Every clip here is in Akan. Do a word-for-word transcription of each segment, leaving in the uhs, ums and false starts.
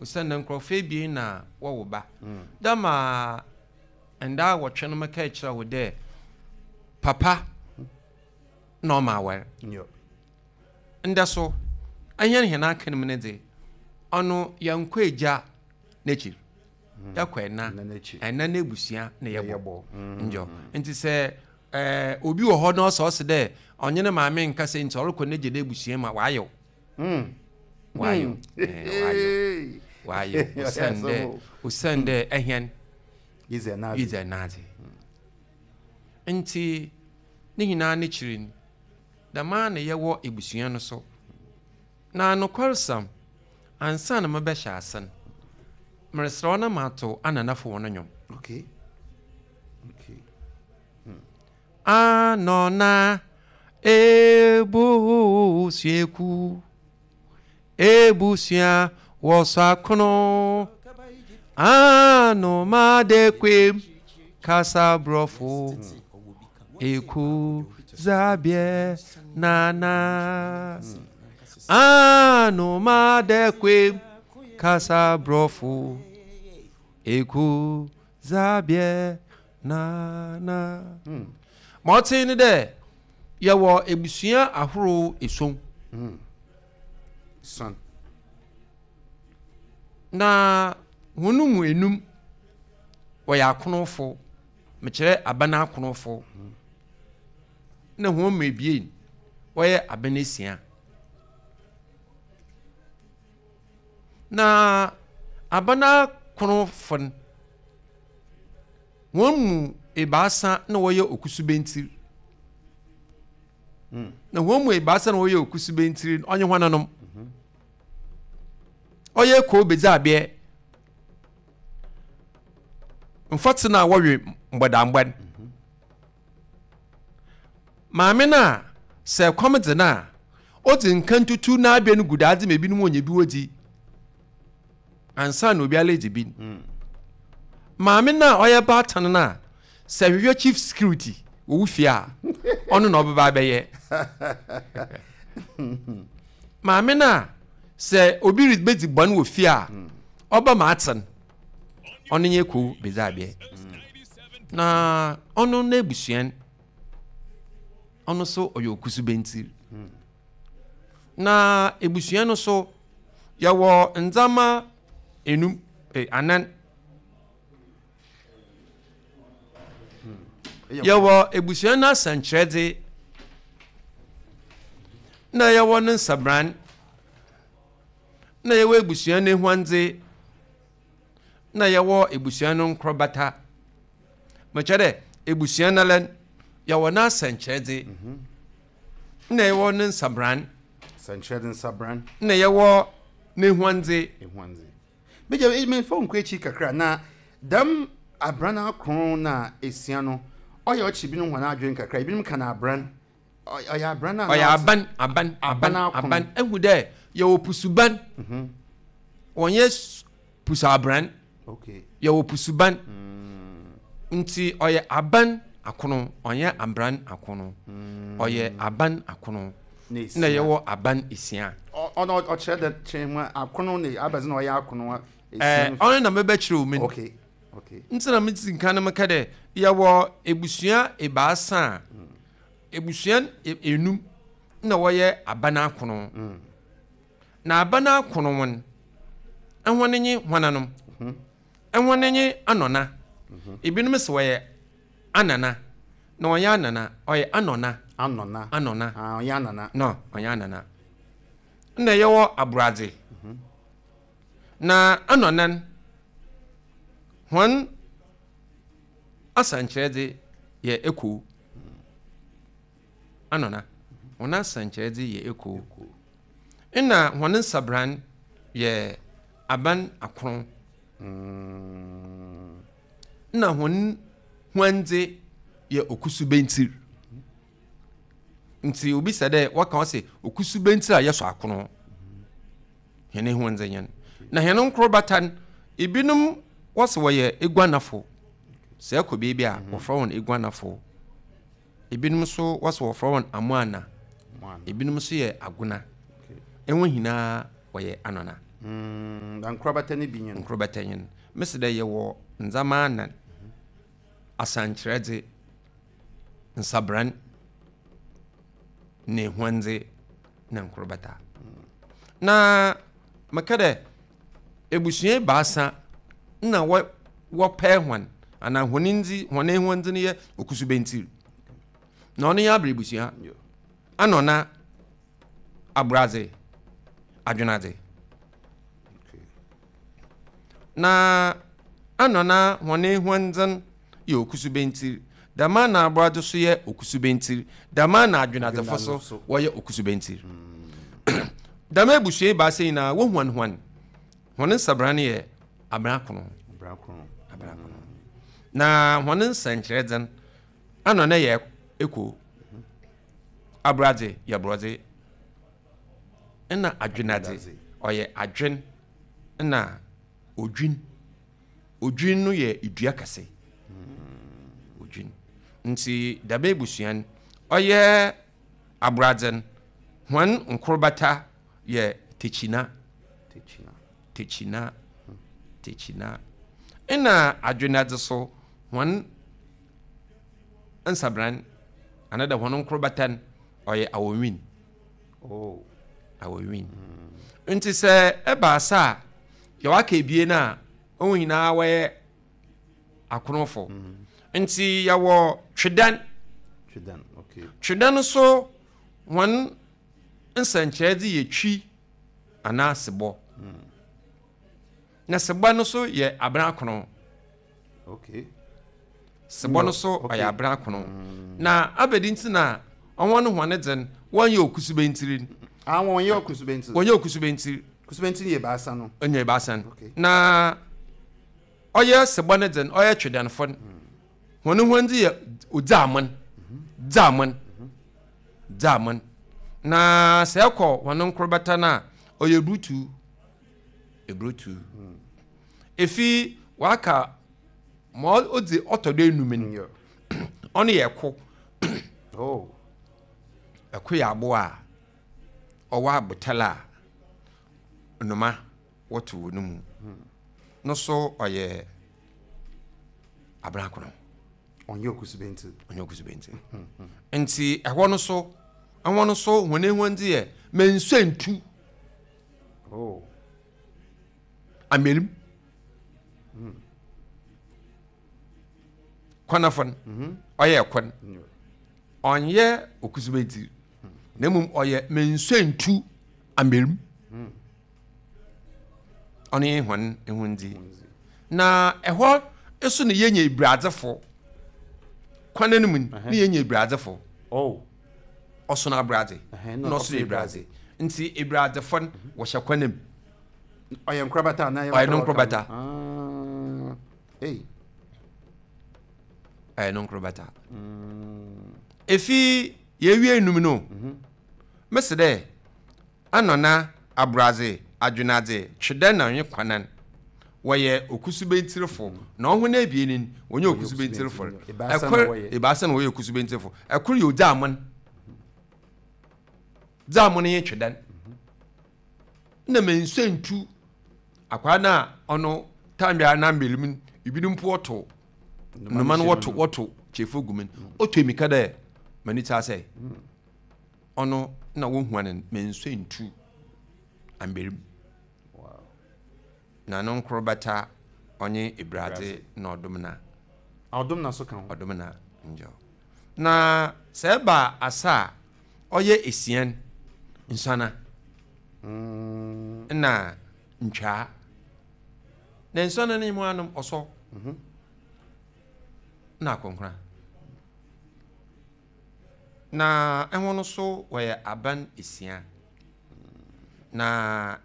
Osiandɛ nkorɔfo ebien na wɔwo ba. Dɛm a nda awɔtwe no mekɛɛ kyerɛ wo dɛ papa na ɔma awar. Ndɛ so, hɛn hɛn akan mu no dze, ɔno yɛnnkɔ egya n'ekyir, yɛkɔ ɛna, ɛna n'ebusua na yɛbɔ. Nyew, ntsi sɛ obi wɔ hɔ na ɔsɛ ɔse dɛ ɔnye ne maame nnkasa ntsi ɔrokɔ n'egya n'ebusua mu a, ɔayew. Ɔayew, ɔayew, ɔayew osiandɛ osiandɛ hɛn yedzi ɛnadze. Ntsi ne nyinaa n'ekyir no, dɛm ara na yɛwɔ ebusua no so. Na nokwarsɛm, ansaana mebɛhyɛ ase no, mereserɛ wo na mato ananafo hɔn nnwom. Okay. Okay. Hmm. Anɔna ebusuaku ebusua wɔsɔ akono anomadekwem kasa borɔfo eku zabiɛ nana anomadekwem kasa borɔfo eku zabiɛ nana. Ma ɔtse ne dɛ yɛwɔ ebusua ahorow esuon. Son. Na hɔn mu enum wɔyɛ akonofo, mekyerɛ aban akonofo, na hɔn mu ebien wɔyɛ aban esia. Na aban akonofo no, hɔn mu ebiasa na wɔyɛ okusubentsir. Na hɔn mu ebiasa na wɔyɛ okusubentsir no, ɔnye hɔnanom? Ɔyɛ kow bedzi mfɔtse no a wɔwe mbɔdambɔ no. Maame no a sɛ kɔm dze no a, odzi nkan tutu n'abɛ no gu daadze ma ebinom wonya bi wodzi ansa na obiara edzi bi. Maame no a ɔyɛ baatan no a sɛ hwehwɛ chief security wɔ wo fie a, ɔno na ɔbɛba abɛyɛ. Maame no a sɛ obi rebedzi bɔn wɔ fie a, ɔba ma atsen, ɔno nye kow bedzi abɛ. Na ɔno n'ebusua no, ɔno so ɔyɛ okusubentsir. Na ebusua no so, yɛwɔ ndzɛmba enum, eh, anan. Yɛwɔ ebusua no asɛnkyerɛdze, na yɛwɔ ne nsabran, na yɛwɔ ebusua no ehuandze, na yɛwɔ ebusua no nkorbata. Mekyerɛ dɛ ebusua no ara yɛwɔ n'asɛnkyerɛdze, na yɛwɔ ne nsabran, Sɛnkyerɛdze nsabran. Na yɛwɔ n'ehuandze. Ehuandze. Megya memfa wo nkɔ akyi kakra na dɛm abran akron na esia no, ɔyɛ ɔkye binom hɔn adwen kakra. Ebinom ka no abran. Ɔyɛ abran a ɔyɛ aban aban aban aban. Ehu dɛ yɛwɔ pusuban, wɔnyɛ pusu abran. Okay. Yɛwɔ pusuban nti ɔyɛ aban akono, ɔnyɛ abran akono, ɔyɛ aban akono na yɛwɔ aban esia. Ɔno ɔkyerɛ dɛ kyerɛ mu akono ne abɛdze na ɔyɛ akono. Ɛɛ, ɔno na mɛbɛkyerɛ wo mu. Okay. Okay. Nti na mesi nka no meka dɛ yɛwɔ ebusua ebaasa a ebusua enum na wɔyɛ aban akono. Na aban akono wɔn ɛhɔn nye hɔnanom? Ɛhɔn nye anɔna. Ebinom sɛ wɔyɛ anana na ɔnyɛ anana, ɔyɛ anɔna. Anɔna. Anɔna. Ah, ɔnyɛ anana. No, ɔnyɛ anana. Na yɛwɔ aboradze. Na anɔnan hɔn asɛnkyerɛdze yɛ ekuo. Anɔna hɔn asɛnkyerɛdze yɛ ekuo. Ɛna hɔn nsabran yɛ aban akron. Na hɔn huandze yɛ okusubentsir. Nti obi sɛ dɛ wɔka wɔ sɛ okusubentsir a yɛsɔ akono, hɛn huandze nyɛn. Na hɛn nkorbata no, ebinom wɔsɛ wɔyɛ eguanafo. Sɛ ɛkɔ beebi a, wɔfrɛ wɔn eguanafo. Ebinom nso wɔsɛ wɔfrɛ wɔn amoana. Ebinom nso yɛ agona. Ɛho nyinaa wɔyɛ anɔna. Na nkorabata no bi nye no. Nkorabata nye no. Mese dɛ yɛwɔ ndzɛmba anan. Asankyerɛdze, nsabran, na ehuandze, na nkorabata. Na meka dɛ ebusua ebiasa na wɔ wɔpɛɛ hɔn anaa hɔn ndzi hɔn ehuandze no yɛ okusubentsir. Na ɔno yɛ aber ebusua. Ana ɔna abradze, adwenadze. Na ana na hɔn ehuandze yɛ okusubentsir. Dɛm na abradze so yɛ okusubentsir. Dɛm na adwenadzefo so wɔyɛ okusubentsir. Dɛm ebusua ebiasa nyinaa wohuan hɔn. Hɔn nsabran yɛ abrakono. Abrakono. Abrakono. Na hɔn nsɛnkyerɛdze ana na yɛ eko. Abradze yɛ borɔdze. Ɛna adwenadze ɔyɛ adwen na odwin. Odwin no yɛ edua kɛse. Odwin. Nti dɛm ebusua no ɔyɛ abradze no hɔn nkorbata yɛ tekyina. Tekyina. Tekyina. Tekyina. Ɛna adwenadze so hɔn nsabran anaa dɛ hɔn nkorbata no ɔyɛ awɔnwin. Oh. Awɔnwin. Nti sɛ ɛba asa a yɛwɔ aka ebien a wɔn nyinaa wɔyɛ akonofo. Nti yɛwɔ twedan. Twedan, okay. Twedan nso hɔn nsɛnkyerɛdze yɛ twi anaa sebɔ. Na sebɔ no so yɛ abrakono. Okay. Sebɔ no so Okay. ɔyɛ abrakono. Na abɛdi nti na ɔwɔn no hɔn dze no wɔnyɛ okusubentsir. Ah, wɔn yɛ okusubentsir. Wɔnyɛ okusubentsir. Kusubentsir yɛ baasa no. Ɔnyɛ ebaasa no. Okay. Na ɔyɛ sebɔ no dze no ɔyɛ twedanfo no. Hɔn hɔn dze yɛ odzaamon. Dzaamon. Dzaamon. Na sɛ ɛkɔ hɔn nkorbata no a ɔyɛ eburutu. Eburutu. Efi waka ma ɔdze ɔtɔ do enum no. Ɔno yɛ ɛko. Oh. Ɛko yɛ aboa a ɔwɔ abotar a nnoma wɔto wɔ no mu. No so ɔyɛ abrakono. Ɔnyɛ okusubentsir. Ɔnyɛ okusubentsir. Nti ɛhɔ no so ɛhɔ no so hɔn ehuandze yɛ mensuentu. Oh. Amerim. Kwanafo no ɔyɛ ɛkwan. Ɔnyɛ okusubentsir. Na mmom ɔyɛ mensuentu amerim. Ɔno yɛ hɔn ehuandze. Na ɛhɔ nso na yɛnya ebiradzefo. Kwan no mu no, ne yɛnya ebiradzefo. Oh. Ɔsono abradze. Ɛhɛn, Na ɔsono ebiradzɛ. Nti ebiradzefo no wɔhyɛ kwan mu. Ɔyɛ nkorabata anaa Ɔyɛ no nkorabata. Ah. Hey. Ɔyɛ no nkorabata. Efi yɛwie enum no, mesi dɛ anɔna abradze, adwenadze, twedɛ na ɔnye kwanan wɔyɛ okusubentsirfo. Na ɔho no ebien no wɔnyɛ okusubentsirfo. Ebaasa na Ɛkor wɔyɛ. ebaasa na wɔyɛ okusubentsirfo. Ɛkor yɛ odzaamon. Dzaamon yɛ twedan. Na mensuentu akwaa no a ɔno tambea na mbelu mu ebinom mpo wɔto nnoma no wɔto wɔto kyefo gu mu no ɔtɔ emika dɛ m'ani ta sɛ ɔno na wohua no mensuentu amberim. Wow. Na no nkorbata ɔnye ebradze na ɔdom na Ɔdom na so ka ho. Ɔdom na njɔ. Na sɛ ɛba asa a ɔyɛ esian nsana Mm. na ntwaa. Na nsana no mu anom ɔsɔ na akonkora. Na ɛho no so wɔyɛ aban esia. Na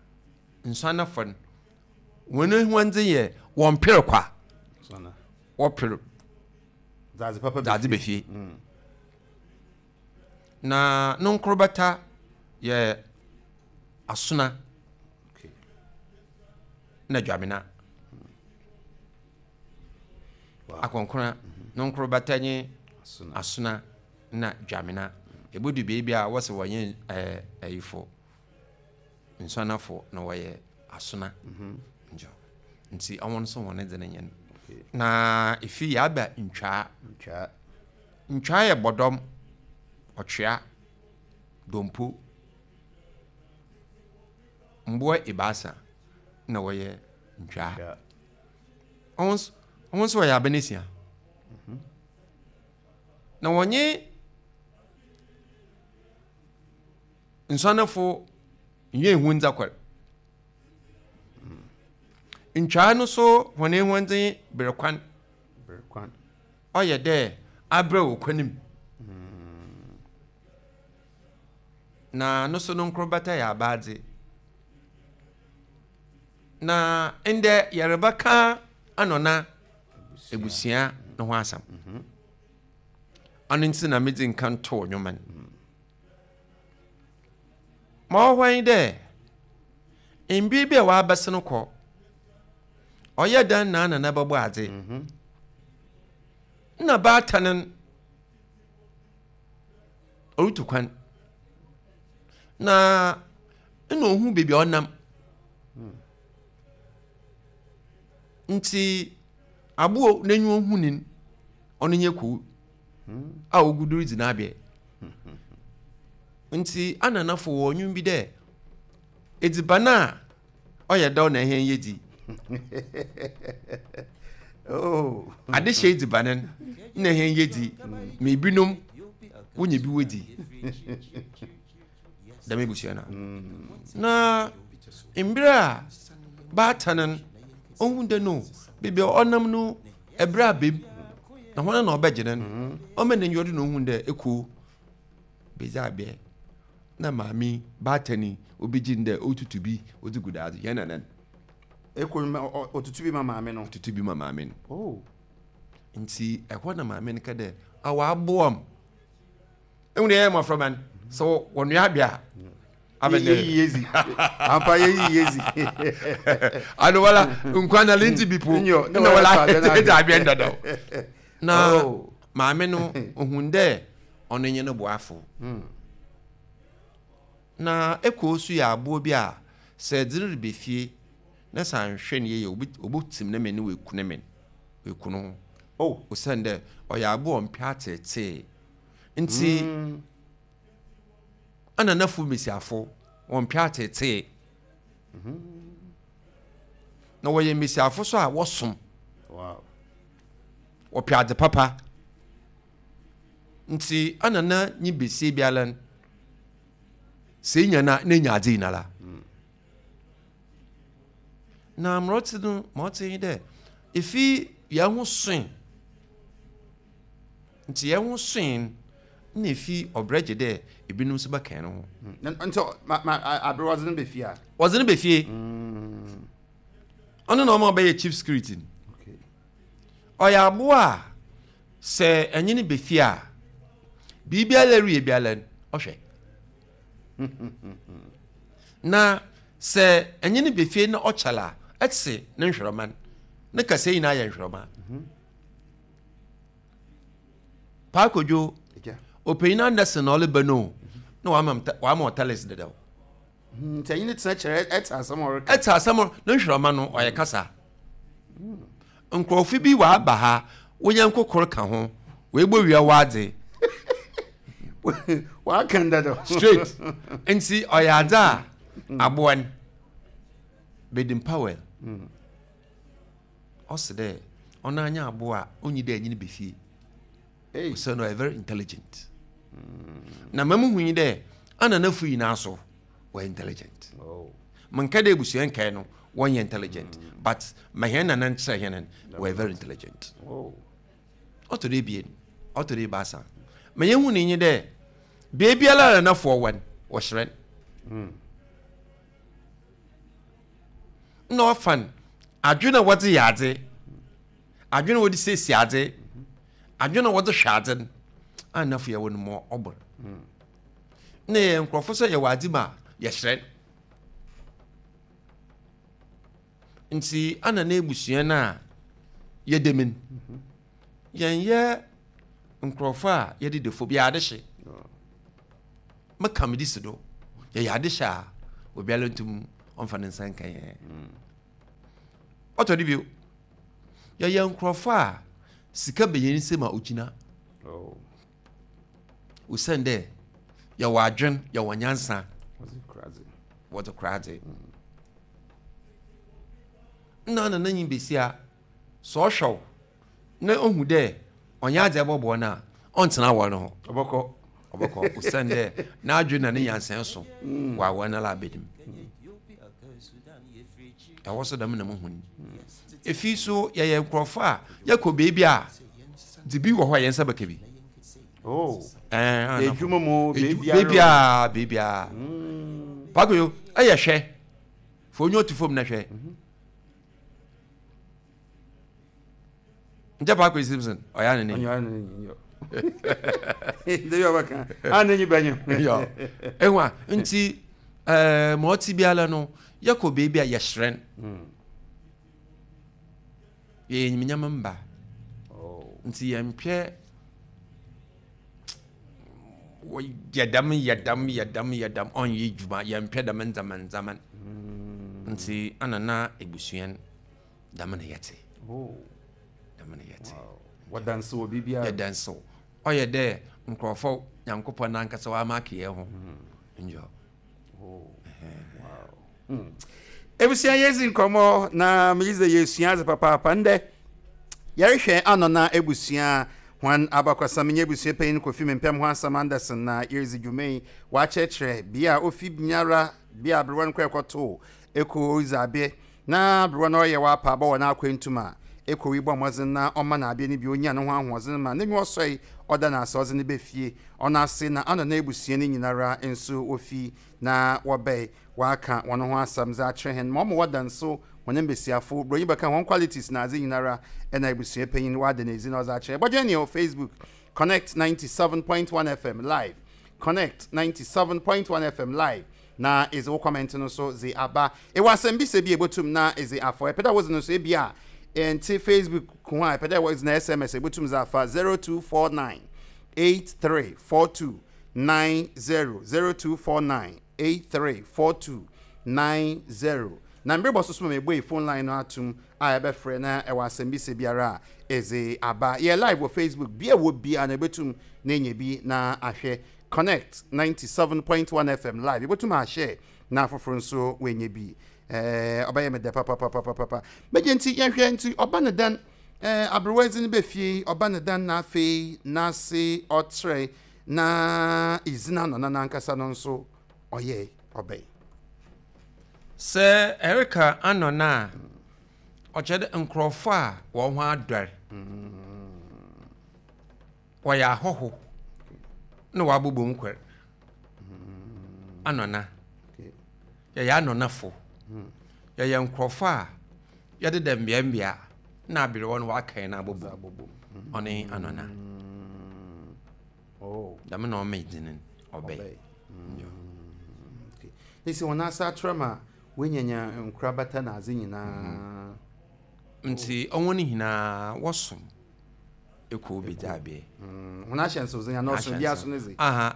nsanafo no wɔn ehuandze yɛ wɔn pere kwa. Sana. Wɔpere Dadze papa dadze bɛfie. Na no nkorbata yɛ asona Okay. na dwamena. Wow. Akɔnkora no nkorbata nye Asona. Asona na dwamena. Ebodu beebi a wɔsɛ wɔnyɛ ɛɛ ɛyifo nsanafo na wɔyɛ Asona. Njo. Nti ɔwɔ nso wɔn dze ne nyɛ. Na efi yaba ntwaa. Ntwaa. Ntwaa yɛ bɔdɔm, ɔtwea, dompo, mboa ebaasa na wɔyɛ ntwaa. Ɔwɔ nso wɔyɛ abenesia. Na wɔnye nsɔnefo nyɛ ehu ndzakɔr. Ntwaa no so wɔn ehuandze bere kwan. Bere kwan. Ɔyɛ dɛ abrɛ wɔ kwan mu. Na no so no nkorobata yɛ abaadze. Na ndɛ yɛrebɛka anɔna ebusua no ho asɛm. Ɔno nti na medzi nkan too nnwoma no. Ma ɔwɔ hɔ yi dɛ mbir bi a wɔabɛsen kɔ ɔyɛ dan na nana bɛbɔ adze. Na baatan no ɔretu kwan. Na nna ohu beebi a ɔnam. Nti aboɔ n'enyiwa hu ni ɔno nye kuw a ogu do ridzi n'abɛ. Nti ananafo wɔ nnwom bi dɛ edziban a ɔyɛ dɛw na ɛhɛn yɛ dzi. Oh. Ade hyɛ edziban no na ɛhɛn yɛ dzi ma ebinom wonya bi wodzi. Dɛm ebusua no. Na mmerɛ a baatan no ohun dɛ no beebi a ɔnam no ɛbrɛ abem na hɔn na ɔbɛgye no no ɔma n'enyiwa do na ohun dɛ ekuo bedzi abɛ na maame baatan yi obegye no dɛ otutu bi odzi gu daadze yɛn nanan. Eko no otutu bi ma maame no. Otutu bi ma maame no. Oh. Nti ɛhɔ na maame no ka dɛ awa aboa m. Ehu dɛ yɛyɛ mmɔframma no sɛ wɔnoa abɛ a abɛdɛ. Yeyi yezi. Ampa yeyi yezi. Ano wala nkwa na lenti bi po. Nyo, Na wala ɛdze abɛ ndadaw. Na Oh. maame no ohun dɛ ɔno nye no boafo. Na eko so yɛ aboɔ bi a sɛ ɛdze no reba fie na sɛ anhwɛ no yie a obotim ne men na oeku ne men. Oeku no ho. Oh. Osiane dɛ ɔyɛ aboɔ a ɔmpɛ atseetsee. Nti Mm. ananafo mbesiafo wɔmpɛ atseetsee. Na wɔyɛ mbesiafo so a wɔsom. Wow. Wɔpɛ adze papa. Nti anana nye besia biara no sɛ enya no a na enya adze nyinara. Na mmerɛ ɔtse no ma ɔtse nye dɛ efi yɛn ho soe. Nti yɛn ho soe no na efi ɔbrɛ gye dɛ ebinom nso bɛka no ho. Nti ma ma abere wɔdze no bɛ fie a. Wɔdze no bɛ fie. Ɔno na ɔma ɔbɛyɛ chief security no. Okay. Ɔyɛ aboa a sɛ ɛnye no bɛ fie a biribiara reyɛ biara no ɔhwɛ. Na sɛ ɛnye no bɛ fie na ɔkyɛl a ɛte ne nhwerɛma no. Ne kasa nyinaa yɛ nhwerɛma. Paakodwo ɔpanyin Anderson na ɔleba no na wama wama ɔtalis dadaw. Nti ɛnye ne tena kyerɛ ɛte asɛm a ɔreka. Ɛte asɛm ne nhwerɛma no ɔyɛ kasa. Nkurɔfo bi waba ha wonya nkokoro ka ho woebɔ wia wadze. Waka dadaw. Straight. Nti ɔyɛ adze a aboa no Baden Powell ɔsi dɛ ɔno anya aboa a onyi dɛ ɛnye no bɛ fie. Hey. Ɔsɛ no ɔyɛ very intelligent. Na mamu hu yi dɛ ananafo nyinaa so wɔyɛ intelligent. Oh. Menka dɛ ebusua nkae no wɔnyɛ intelligent but ma hɛn nana nkyerɛ hɛn no wɔyɛ very intelligent. Oh. Ɔtɔ do ebien, ɔtɔ do ebaasa. Ma yɛhu ne nye dɛ beebiara a nanafoɔ wɔ no wɔhyerɛn. Na ɔfa no adwene a wɔdze yɛ adze, adwene a wɔde siesie adze, adwene a wɔdze hwɛ adze no anafo yɛwɔ no ma ɔbor. Na yɛ nkurɔfo sɛ yɛwɔ adze mu a yɛhyerɛn. Nti ana na ebusua no a yɛda mu no yɛnyɛ nkurɔfo a yɛde defo bi ade hye. Meka me di si do yɛyɛ ade hyɛ a obiara ntum ɔmfa ne nsa nka yɛn. Ɔtɔ de bio, yɛyɛ nkurɔfo a sika bɛyɛ nsɛm a ogyina. Oh. Osiane dɛ yɛwɔ adwen, yɛwɔ nyansa. Wɔdze kora dze. Wɔdze kora dze. Nna na n'enyi besia sɛ ɔhwɛ wo na ohu dɛ ɔnyɛ adze ɛbɔboa no a, ɔntena awɔre no ho. Ɔbɔkɔ. Ɔbɔkɔ osiane dɛ n'adwen na ne nyansa so wɔ awɔre no ala abɛdim. Ɛwɔ so dɛm na muhu no. Efi so yɛyɛ nkurɔfo a yɛkɔ beebi a dze bi wɔ hɔ a yɛn nsa bɛka bi. Oh. Ɛɛ Edwuma mu beebi beebiara. a beebi a. Pakoyo ɛyɛ hwɛ. Fo onye otu fam na hwɛ. Nkyɛ Pakoyo Simpson ɔyɛ anene. Ɔnyɛ anene nyi. Ndebi ɔbɛka. Anene bɛnyo. Yɔ. Ehu a nti ɛɛ ma ɔte biara no yɛkɔ beebi a yɛhyerɛn. Yɛyɛ enyimnyam mba. Oh. Nti yɛmpɛ yɛ dɛm yɛ dɛm yɛ dɛm yɛ dɛm ɔnyɛ dwuma, yɛmpɛ dɛm ndzɛmba ndzɛmba. Nti ana na ebusua dɛm na yɛte. Oh. Dɛm na yɛte. Wɔdanse wɔ biribiara. Yɛdanse. Ɔyɛ dɛ nkurɔfo Nyankopɔn nankasa wama aka yɛn ho. Njɔ. Oh. Wow. Hmm. Ebusua, yɛdzi nkɔmmɔ na megye dɛ yɛsua adze papaapa ndɛ. Yɛrehwɛ Anɔna ebusua hɔn abakɔsɛm nye ebusua panyin Kofi Mempɛm ho asɛm Anderson na yɛredzi dwuma yi. Wɔakyerɛkyerɛ bea a ofi nyara, bea aberewa no kɔ ɛkɔtoo eko oridzi abe na aberewa no ɔyɛ w'apa abɔ wɔ n'akwantum a eko yi bɔ mmɔdzen na ɔma n'abe no bi onya ne ho ahoɔdzen ma n'enyi ɔsɔe ɔda n'ase ɔdze ne bɛ fie ɔno ase na Anɔna ebusua no nyinara nso wofi na wɔbɛe waka wɔn ho asɛm dze akyerɛ hɛn ma ɔmo wɔda nso wɔn mbesiafo buronyi bɛka wɔn qualities na adze nyinara ɛna ebusua panyin wada n'edzi na ɔdze akyerɛ. Bɔdwe ne wɔ Facebook, Connect ninety-seven point one F M live, Connect ninety-seven point one F M live, na ɛdze wo comment no so dze aba. Ɛwɔ asɛm bi sɛ bi ebotum na ɛdze afɔ ɛpɛ dɛ wodze no so ebi a ɛnte Facebook ko a ɛpɛ dɛ wɔdze na S M S ebotum dze afa zero two four nine eight three four two nine zero, zero two four nine eight three four two nine zero. Na mbere bɔ so so ma mebue phone line no atum a ɛbɛfrɛ na ɛwɔ asɛm bi sɛ biara a ɛdze aba. Yɛ live wɔ Facebook bia wɔ bia na ɛbɛtum na ɛnya bi na ahwɛ Connect ninety-seven point one F M live. Yɛbɛtum ahyɛ na afoforɔ nso wɔanya bi. ɛɛ ɔbɛyɛ me dɛ papapapapapa. Mɛgye nti yɛhwɛ nti ɔba ne dan ɛɛ aberewa dzi no bɛ fie, ɔba ne dan na afei n'ase ɔtrɛ na izina no na n'ankasa no nso ɔyɛ ɔbɛn. Sɛ ɛreka Anɔna a, ɔkyerɛ dɛ nkurɔfo a wɔn ho adɔre, wɔyɛ ahɔho na wɔabobɔ mu kwɛr. Anɔna, yɛyɛ anɔnafo, yɛyɛ nkurɔfo a yɛdeda mmeammea na aberewa no waka yɛn abobɔ. Ɔne Anɔna. Oh. Dɛm na ɔma dzin ɔbɛn. Ɔbɛn. Ne sɛ wɔn asa atrɛ ma wɔanyanya nkorabata na adze nyinaa. Nti ɔwɔ no nyinaa wɔsom ekuo bi dze abeɛ. Mm, wɔn ahyɛnsewdze nyɛ n'ɔso bi aso ne dze. Aha,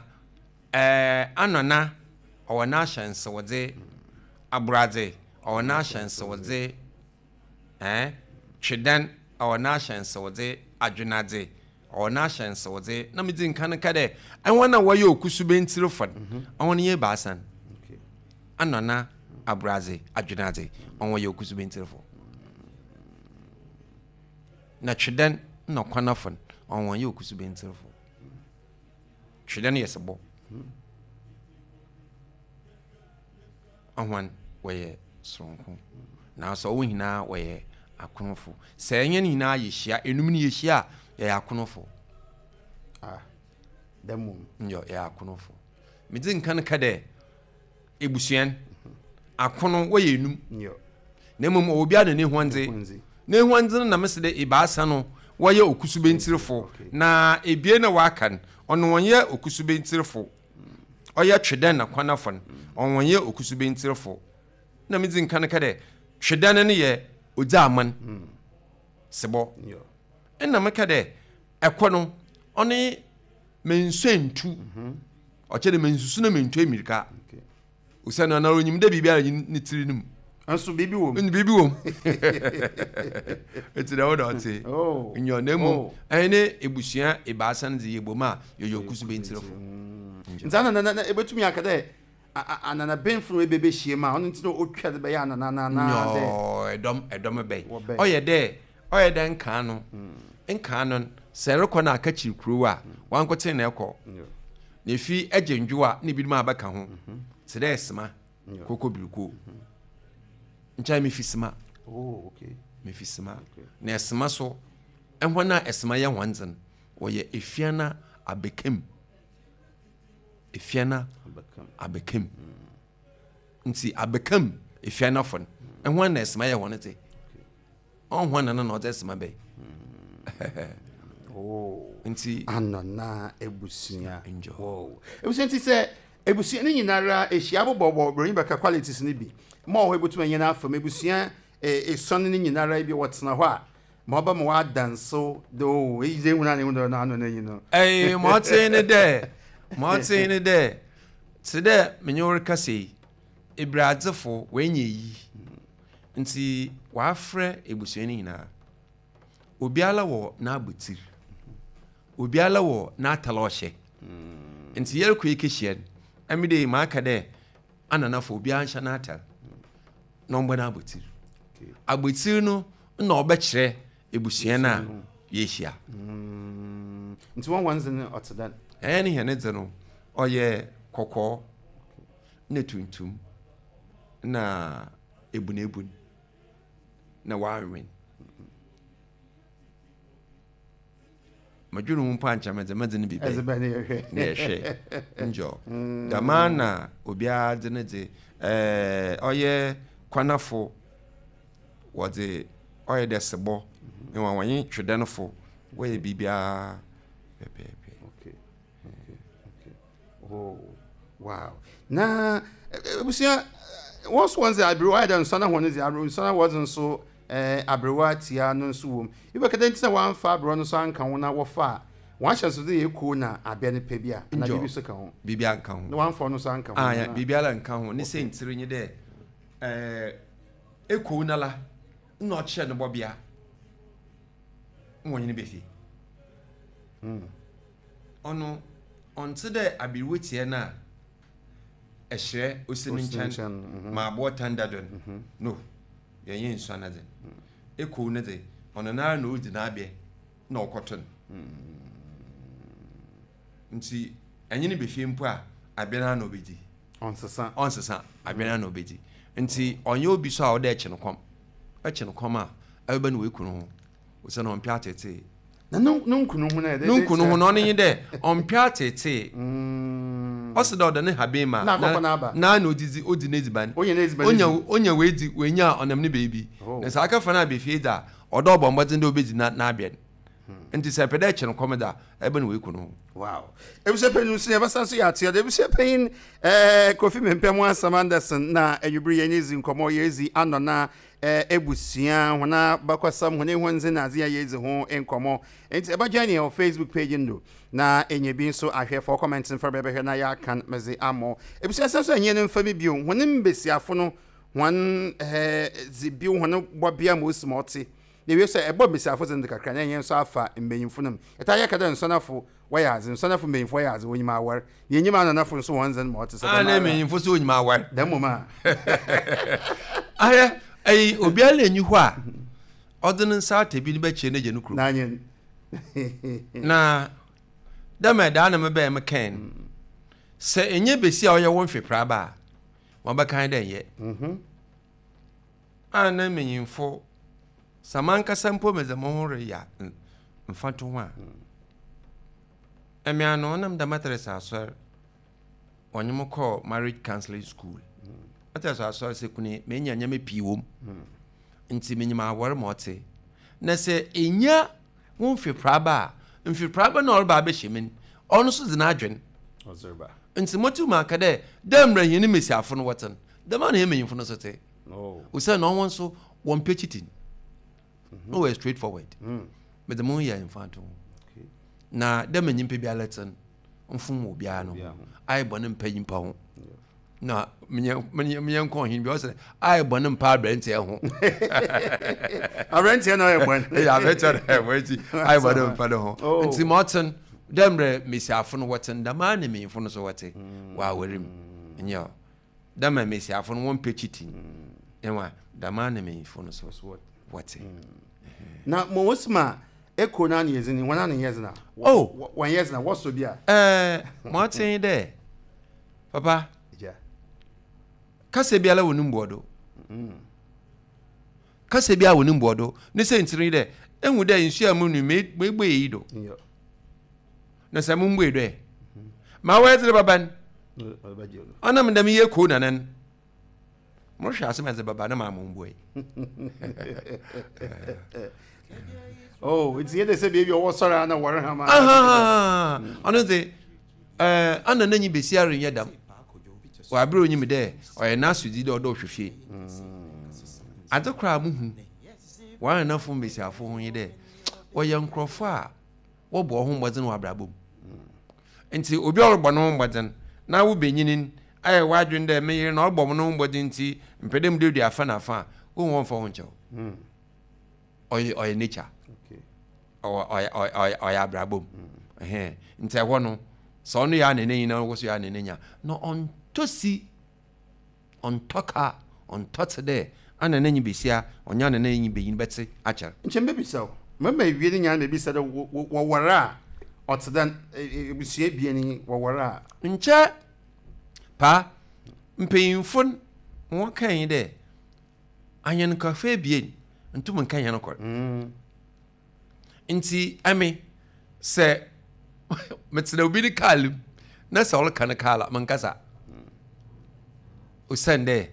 ɛɛ Anɔna ɔwɔ n'ahyɛnsewdze, Aboradze ɔwɔ n'ahyɛnsewdze, ɛɛ Twedan ɔwɔ n'ahyɛnsewdze, Adwenadze ɔwɔ n'ahyɛnsewdze. Na medzi nkan ka dɛ ɛwɔn a wɔyɛ okusubentirifo no, ɔwɔn yɛ ebaasa no. Okay. Anɔna, Aboradze, Adwenadze, ɔwɔn yɛ okusubentirifo, na Twedan na Kwanafo no, ɔwɔn yɛ okusubentirifo. Twedan yɛ sebɔ, ɔhɔn wɔyɛ soronko, nanso ɔwɔ nyinaa wɔyɛ akonofo. Sɛ ɛnyɛ no nyinaa yɛhyia enum no yɛhyia a, yɛyɛ akonofo. Ah, dɛm mu. Nyɛ yɛyɛ akonofo. Medzi nkan ka dɛ ebusuan akono wɔyɛ enum. Nyɛ. Na mmom ɔwɔ biara na n'ehuandze. N'ehuandze. N'ehuandze no na mesi dɛ ebaasa no wɔyɛ okusubentirifo, na ebien na wɔaka no, ɔno wɔnyɛ okusubentirifo. Ɔyɛ Twedan na Kwanafo no, ɔno wɔnyɛ okusubentirifo. Na medzi nkan ka dɛ Twedan no yɛ odzi aman sebɔ. Nyɛ. Ɛna meka dɛ ɛkɔ no ɔne mensuentu, ɔkyerɛ dɛ mensusu na mentu emirika. Okay. Osiane ɔnoara onyim dɛ biribiara nnyi ne tsir no mu. Nso biribi wɔ mu. Biribi wɔ mu. Ntsi dɛm na ɔtse. Oh. Nyew, na mbom Oh. hɛn ebusua ebiasa no dze yɛbɔ mu a, yɛyɛ Okusubentsirfo. Nti ana na na ebetumi aka dɛ ananabenfo no ebebehyia mu a ɔno nti na otwa dze bɛyɛ anana anaa dɛ. Nyɔɔ, ɛdɔm ɛdɔm bɛn. Wɔbɛn. Ɔyɛ dɛ ɔyɛ dɛ nkaa no nkaa no sɛ ɛrekɔ no akakyiri kurow a wankoten na ɛkɔ. Na efi agye ndwo a na ebinom abɛka ho. Te dɛ Sema, Koko Biriko. Nkyɛn mefi Sema. Oh, okay. Mefi Sema. Na Ɛsema so, ɛhɔn a Ɛsema yɛ hɔn dze no, wɔyɛ Efiana Abɛkam. Efiana Abɛkam. Nti Abɛkam Efianafo no, ɛhɔn na Ɛsema yɛ hɔn dze. Ɔnhɔn na no na ɔdze Ɛsema bɛyɛ. Oh. Nti Anana ebusua. Enjoy. Wow. Ebusua nti sɛ ebusua ne nyinara ehyia abobɔbɔ broni bɛka qualities ne bi. Ma ɔhɔ ebotumi anya n'afam ebusua esuon ne nyinara bi wɔtena hɔ a ma ɔba ma wadanso de o eyi dze ehun na ehun na ano n'enyi no. Ɛyi ma ɔtee ne dɛ ma ɔtee ne dɛ te dɛ menye wo rekasa yi, ebiradzefo wɔanya yi nti wɔafrɛ ebusua no nyinaa. Obiara wɔ n'abotir, obiara wɔ n'atar a ɔhyɛ. Nti yɛrekɔ yɛkɛhyia no, ɛmi de maaka dɛ ananafo obiara nhyɛ n'atar na ɔmbɔ n'abotir. Abotir no na ɔbɛkyerɛ ebusua no a yɛhyia. Nti wɔn wɔn dze no ɔte dɛn? Ɛyɛ ne hɛn dze no ɔyɛ kɔkɔɔ na tuntum na ebunebun na wɔawen. Madwene ho mpo ankyɛ medze medze no bi Ɛdze bɛn bɛn ne yɛhwɛ. Na yɛhwɛ njɔ dɛmaa na obiara dze ne dze ɛɛ ɔyɛ kwanafo wɔdze ɔyɛ dɛ sebɔ na wɔnye twedɛnfo wɔyɛ biribiara pɛpɛɛpɛ. Okay. Okay. Okay. Oh, wow. Na ebusua wɔn nso wɔn dze aberewa ayɛ dɛ nsɔn ahɔn dze aberewa nsɔn wɔdze nso ɛɛ aberewa tia no nso wɔ mu. Ibɛka dɛ nti na wɔamfa aberewa no nso anka ho na wɔfa a wɔn ahyɛnso de yɛ ekuo na abɛ no pɛ bi a na Njɔ. biribi nso ka ho. Biribiara nka ho. Na wɔamfa ɔno nso anka ho. Ah, ya, na- biribiara nka ho. Ne sɛntiri nye dɛ ɛɛ ekuo nala na ɔkyerɛ no bɔbea na wɔnye no bɛfie. Ɔno ɔnte dɛ aberewa tia no a ɛhyerɛ osi ne Osi ne nkyɛn nkyɛn, mhm. ma aboɔ tan da do no no yɛnyɛ nsua no dze. Ekuo no dze ɔno nara na odi n'abɛ na ɔkɔto no. Nti ɛnye no bɛfie mpo a abɛ no ara na ɔbɛdi. Ɔnsesa. Ɔnsesa, abɛ no ara na ɔbɛdi. Nti ɔnyɛ obi so a ɔda ɛkye no kɔm. Ɛkye no kɔm a ɛbɛba no wɔeku no ho osiane ɔmpɛ atetee. Na ne ne nkunu ho na yɛ dɛ. Ne nkunu ho no ɔno nye dɛ ɔmpɛ atetee. Ɔsi dɛ ɔda ne haben ma Na akɔfɔ n'aba. na na odidi odi n'edziban. Onya n'edziban onya di. Onya weedi wenya a ɔnam ne beebi. Oh. Na sɛ akɛfa no abɛfie dza ɔdɔ ɔbɔ mbɔdzen dɛ obedzi na n'abɛn. Nti sɛ ɛpɛ dɛ ɛkye no kɔm da ɛbɛ no weku no ho. Wow. Ebusua panyin nso yɛbɛsa nso yɛ ateɛ de ebusua panyin ɛɛ Kofi Mempɛ ho asɛm Anderson na enwibiri yɛn ezi nkɔmɔ yɛzi anɔna ɛɛ ebusua hɔn abakɔsɛm hɔn ehɔndze na adze a yɛdzi ho nkɔmɔ. Nti ɛbɛgye ne wɔ Facebook page no na enye bi nso ahwɛ fɔ comment mfa bɛbɛhwɛ na yɛakan mɛdze amɔ. Ebusua sɛ nso ɛnyɛ no mfa mi bio hɔn mbesiafo no hɔn ɛɛ dze bio hɔn bɔbea ma osi ma ɔte. Na ewie sɛ ɛbɔ mbesiafo dze no kakra na ɛnyɛ nso afa mbanyimfo no mu. Ɛta yɛ ka dɛ nsɔnafo wɔyɛ adze, nsɔnafo mbanyimfo wɔyɛ adze, wɔnyim awar. Na enyim ananafo nso wɔn dze no ma ɔte sɛ a dɛm na ara. mmanyimfo so onyim awar. Dɛm mmom a. Ahwɛ ɛyi obiara na enyi hɔ a ɔde ne nsa ata bi no bɛkyerɛ n'agya no kurom. N'anyɛ. Na dɛm ɛdaa na mebɛn me kɛn no sɛ enye besi a ɔyɛ wo mfepraba a wɔbɛkan dɛ nyɛ a na mmanyimfo sɛ mankasa mpo medze mo ho reyɛ mfato ho a ɛmea no ɔnam da Methodist asɔre ɔnye mo kɔɔ marriage counseling school. Methodist asɔre sɛ kune menya nneɛma pii wɔ mu nti menyim awɔre ma ɔte na sɛ enya wo mfepraba a mfepraba na ɔreba abɛhyɛ mu no ɔno nso dze n'adwen. Ɔzereba. Nti motum aka dɛ dɛ mmerɛ hɛn mmesiafo no wɔte no dɛm a na hɛn mmanyimfo no nso te. Oh. Osiane na ɔwɔ nso wɔmpɛ cheating na wɔyɛ straight forward. Mede mo ho yɛ mfato ho. Okay. Na dɛ ma nyimpa biara te no mfom wɔ obiara no Obiara ho ho. ayɛ bɔne mpa nyimpa ho. Na menyɛ nkɔ ɔhen bi ɔsɛ ayɛ bɔne mpa aberanteɛ ho. Aberanteɛ na ɔyɛ bɔne. Ɛyɛ aberanteɛ na ɔyɛ bɔne nti ayɛ bɔne mpa ne ho. Oh. Nti ma ɔten dɛ mmerɛ mmesiafo no wɔten dɛm ara na mmanyimfo no so wɔte wɔ aware mu. Nyɛ dɛ ma mmesiafo no wɔmpɛ cheating. Ɛwa dɛm ara na mmanyimfo no so wɔte. Na mo wosi ma eko na ne yɛdze ni wɔn ano yɛ dze na. Oh. Wɔn yɛ dze na wɔsɔ bi a. Ɛɛ ma ɔten dɛ papa. Yeah. Kasa biara wɔ ne mbuɔdo. Kasa biara wɔ ne mbuɔdo. Ne sɛ ntiri dɛ ehu dɛ nsuo a mu nu meebue yi do. Yeah. Na sɛ mo mbue do ɛ. Ma wɔyɛ dze baba no. Ɔnam dɛm yɛ ko nanan. Mohwɛ asɛm a ɛdze baba na maa mo mbue. Oh, nti yɛ de sɛ beebi a ɔwɔ sɔrɔ a na wɔre hama. Ɔno dze ɛɛ ana n'enyi besi arenyɛ dam. Wabere onyim dɛ ɔyɛ n'asodzi dɛ ɔdɔ ɔhwɛ fie. Adze koraa muhu wɔn anafo mbesiafo ho yi dɛ wɔyɛ nkurɔfo a wɔbɔ wɔn ho mbɔdzen wɔ abrabɔ mu. Nti obi a ɔrebɔ ne ho mbɔdzen na wo benyinin ayɛ w'adwene dɛ me yere na ɔrebɔ ne ho mbɔdzen nti mpɛ dɛ muduadua afa na afa a wohu wɔmfa ho nkyɛw. Ɔyɛ ɔyɛ nature. Ɔwɔ ɔyɛ ɔyɛ ɔyɛ abrabɔ mu. Ɛhɛn nti ɛhɔ no sɛ ɔno yɛ anene nyinaa ɔwɔ so yɛ anene nya na ɔntɔ si ɔntɔ ka ɔntɔ te dɛ anene nyi besia ɔnyɛ anene nyi benyin bɛte akyɛr. Nkyɛn bɛbisa o mɛma ewie ne nyinaa mɛbisa dɛ wɔwɔre a ɔte dɛ ebusua ebien yi wɔwɔre a. Nkyɛ paa mpanyinfo wɔn kan yi dɛ anyɛnkafo ebien ntum nka yɛn kɔ. Nti ɛmi sɛ metena obi ne kaal mu na sɛ ɔreka ne kaal a mankasa osiane dɛ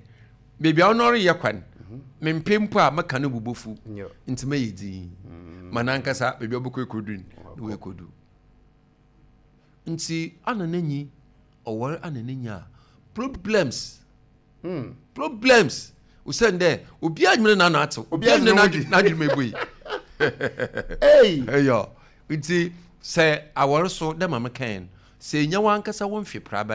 beebi a ɔno ɔreyɛ kwan mempɛ mpo a mɛka no bubofu nti mɛyɛ dzin ma nankasa beebi a ɔbɛkɔ ekodu no na ekodu nti ana n'enyi ɔwɔre ana n'enyi a problems mm. problems osiane dɛ obiara nyina n'ano atew obiara nyina n'adwene mu ebue. Ei ɛyɔ nti sɛ awɔre so dɛ maame kan sɛ enya wankasa wɔn mfe praba.